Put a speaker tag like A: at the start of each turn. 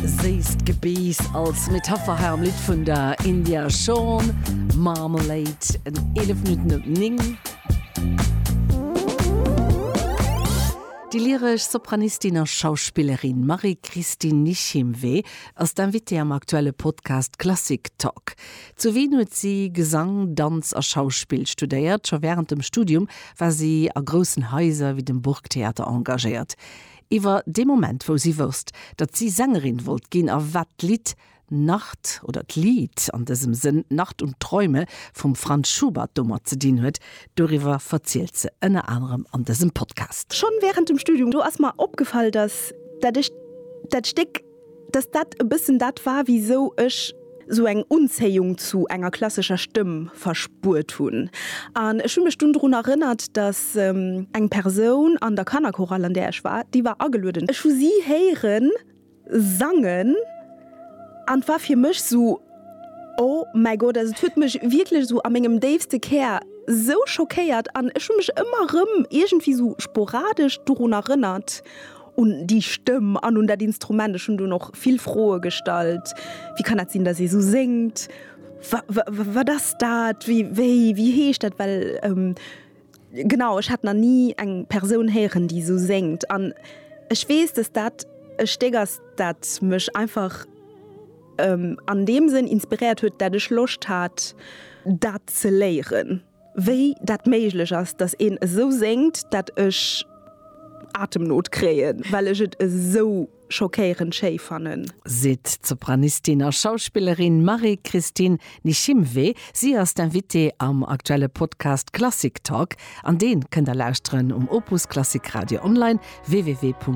A: Séisst Gebeess als Metapher hei am Lidd vun der India Shawn, Marmalade, en 11 Minutten op 9. Déi lyresch Sopranistin a Schauspillerin Marie-Christine Nishimwe ass d'Invitée am aktuelle Podcast Klassik Talk. Zu Wien huet si Gesang, Danz a Schauspill studéiert. Scho wärend dem Studium war si a groussen Haiser wéi dem Burgtheater engagéiert. Iwwer dee Moment, wou si wousst, datt si Sängerin wollt ginn a wat d'Lidd Nacht oder d'Lied an dësem Sënn Nacht und Träume vum Franz Schubert domat ze dinn huet, doriwwer verzielt se ënner anerem an dësem Podcast.
B: Schonn während dem Studium, do ass mer opgefall, dass dat ech dat Stéck, dass dat e bëssen dat war, wisou ech sou eng Unzéiung zu enger klassescher Stëmm verspuert hunn. An ech hu mech dunn drun erënnert, dass eng Persoun an der Kannerchorale, an där ech war, déi war agelueden. Ech hu si héieren sangen an et war fir mech sou, Oh mäi Gott! Also et huet mech wierklech sou a mengem déifste Kär sou schockéiert an ech hu mech ëmmer erëm iergendwéi sou sporadesch dorun erënnert, un déi Stëmm an un dat Instrument. Ech hunn dunn och vill Froe gestallt, Wéi kann dat sinn, datt ee sou séngt? Wat ass dat? Wéi, wéi, wéi heescht dat? Well genau, ech hat nach ni eng Persoun héieren, déi esou séngt. An ech weess, datt dat e Stéck ass, dat mech einfach an deem Sënn inspiréiert huet, dat ech Loscht hat, dat ze léieren. Wéi dat méiglech ass, dass een esou séngt, dat ech Atemnot kréien, well ech et esou schockéierend schéi fannen.
A: Seet d'Sopranistin a Schauspillerin Marie-Christine Nishimwe. Si ass d'Invitée am aktuelle Podcast Klassik Talk an dee kënnt der lauschteren um Opus Klassik Radio online, www.opus.radio.